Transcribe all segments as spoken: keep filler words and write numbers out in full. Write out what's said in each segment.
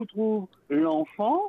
Ou trouv lanfan,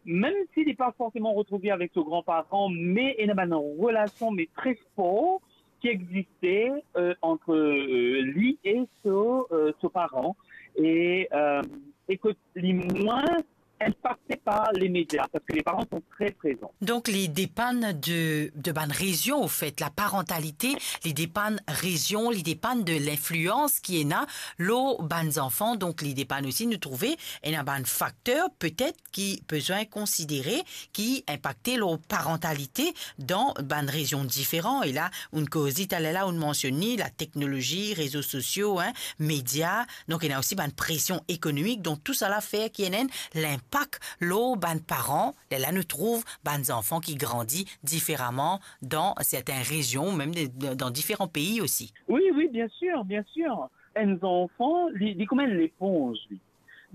mem si li pa forseman retrouve avek so granparan, me ena bann relasion, me tre for, ki existe, euh, ant, euh, li e so, euh, so paran, e, euh, e ke li mwin inpakte par lemedia, parski le paran son tre prezan. Donk, li depann de, de bann rezion, anfet, laparantalite, li depann rezion, li depann de linflians ki ena lor bann zanfan. Donk, li depann osi, nou trouve, ena bann fakter, petet, ki bizin konsidere, ki inpakte lor parantalite dan bann rezion diferan. E la, ou'nn koze taler la, ou'nn mansionn li, lateknolozi, rezo sosio, hein, media. Donk, ena osi bann presion ekonomik. Donk, tousala fer ki ena enn linpak lor bann paran. Lerla nou trouv bann zanfan ki grandi diferaman dan sertin rezion, mem de, de, dan diferan pei osi. Wi, wi, bien sir, bien sir. Enn zanfan, li, li kouma enn leponz, li.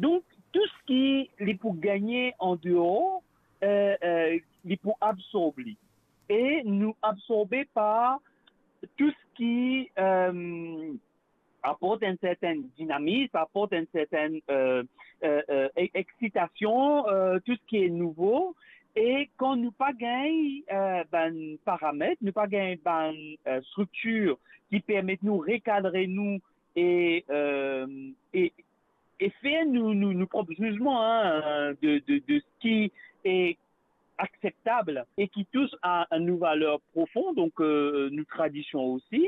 Donk, tou seki li pou gagne an deor, euh, euh, li pou absorb li. E nou absorbe par tou seki, euh, aport enn sertin dinamis, aport enn sertin, euh, euh, euh, e-, exitasion, euh, tou seki nouvo. E kan nou pa gagn, euh, bann paramet, nou pa gagn bann, euh, striktir ki permet nou rekadre nou e, euh, e, e fer nou, nou, nou prop zizman, hein, euh, de, de, de seki e akseptab e ki tous a, a nou valer profon, donk, euh, nou tradision osi,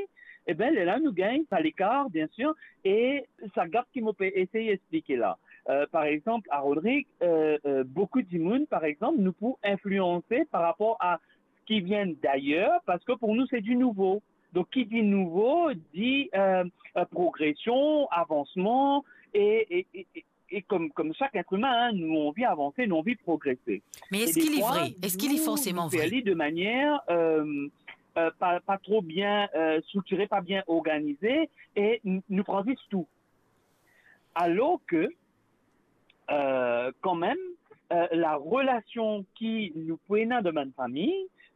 e ben, lerla nou gagn sa lekar, bien sir, e sa gap ki mo pe esey explike la. Euh, par exanp, a Rodrig, euh, euh, boukou dimoun, par exanp, nou pou inflianse par rapor a seki vinn dayer, parski pou nou, se di nouvo. Donk, ki di nouvo, di, euh, euh, progresion, avansman, e, e, e, e, e kom, kom sak etr imin, hein, nou anvi avanse, nou anvi progrese. Me eski li vre? Eski li forseman vre? E defwa, nou, nou fer li de manier, euh, euh, pa, pa tro bien, euh, striktire, pa bien organize, e n-, nou pran zis tou. Alor ke, euh, kanmem, euh, larelasion ki nou pou ena dan bann fami,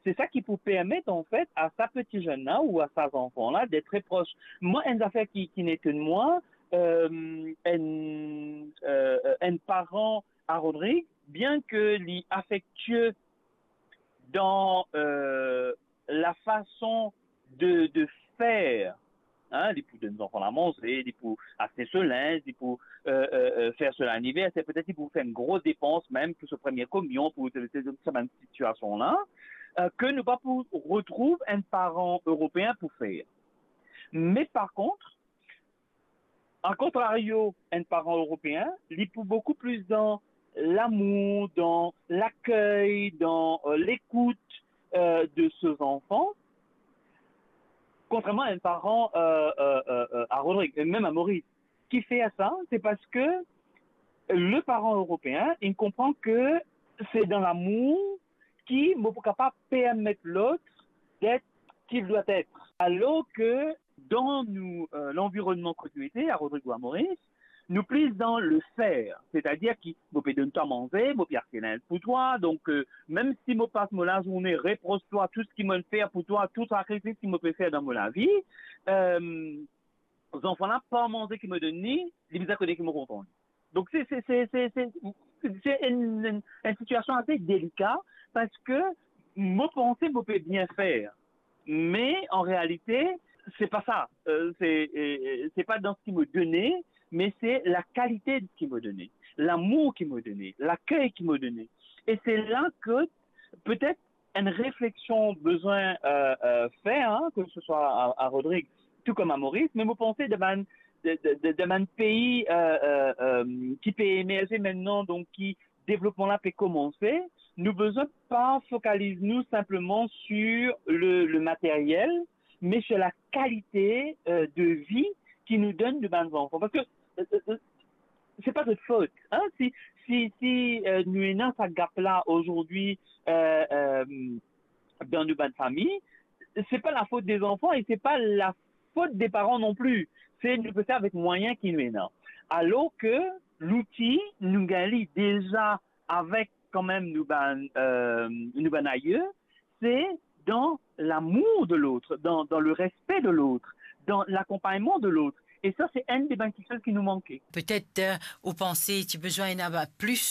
se sa ki pou permet, anfet, a sa peti zenn la ou a sa zanfan la d'être très proche. Mwa, enn zafer ki, ki etonn mwa, euh, enn, euh, enn paran a Rodrig, bien ke li afektie dan, euh, lafason de, de fer, hein, li pou donn zanfan la manze, li pou aste so linz, li pou, euh, euh, euh, fer so laniverser, petet li pou fer enn gro depans mem pou so premie komion, pou, pou, pou sa bann sitiasion la, euh, ke nou pa pou retrouv enn paran Eropeen pou fer. Me par kont, a kontrario, enn paran Eropeen, li pou boukou plis dan lamour, dan lakey, dan, euh, lekout, euh, de so zanfan, kontrerman a enn paran, euh, euh, euh, euh, a Rodrig, e mem a Moris. Ki fer sa? Se parski le paran Eropeen, li konpran ke se dan lamour ki mo pou kapav permet lot d'être qui il doit être. Alor ke dan nou, euh, lanvironnman kot nou ete, a Rodrig ou a Moris, nou plis dan le fer, setadir ki mo pe donn twa manze, mo pe aste linz pou twa, donk, euh, mem si mo pas mo lazourne repros twa tou seki mo'nn fer pou twa, tou sakrifis ki mo pe fer dan mo lavi, euh, zanfan la, par manze ki mo donn li, li bizin kone ki mo kontan li. Donk, se, se, se, se, se, se enn, enn, enn sitiasion ase delika, parski mo panse mo pe bien fer. Me, an realite, se pa sa. Euh, se, euh, se pa dan seki mo done, me se lakalite de seki mo done, lamour ki mo done, lakey ki mo done. E se la ke petet enn refleksion bizin, euh, euh, fer, hein, ke se swa a, a Rodrig, tou kom a Moris, me mo panse dan bann, de, de, de, dan bann pei, euh, euh, euh, ki pe emerze mintnan, donk ki devlopman la pe koumanse, nou bizin pa fokaliz nou sinpleman sur le, le materiel, me sur lakalite, euh, de vi ki nou donn nou bann zanfan. Parski, euh, euh, euh, se pa zot fot, hein, si, si, si, euh, nou ena sa gap la azordi, euh, euh, dan nou bann fami, se pa lafot de zanfan e se pa lafot de paran non pli. Se nou pe fer avek mwayin ki nou ena. Alor ke louti, nou gagn li deza avek kanmem nou bann, euh, nou bann aye, se dan lamour de lot, dan, dan le respe de lot, dan lakonpagnman de lot. E sa, se enn de bann kiksoz ki nou manke. Petet, euh, ou panse ti bizin ena plis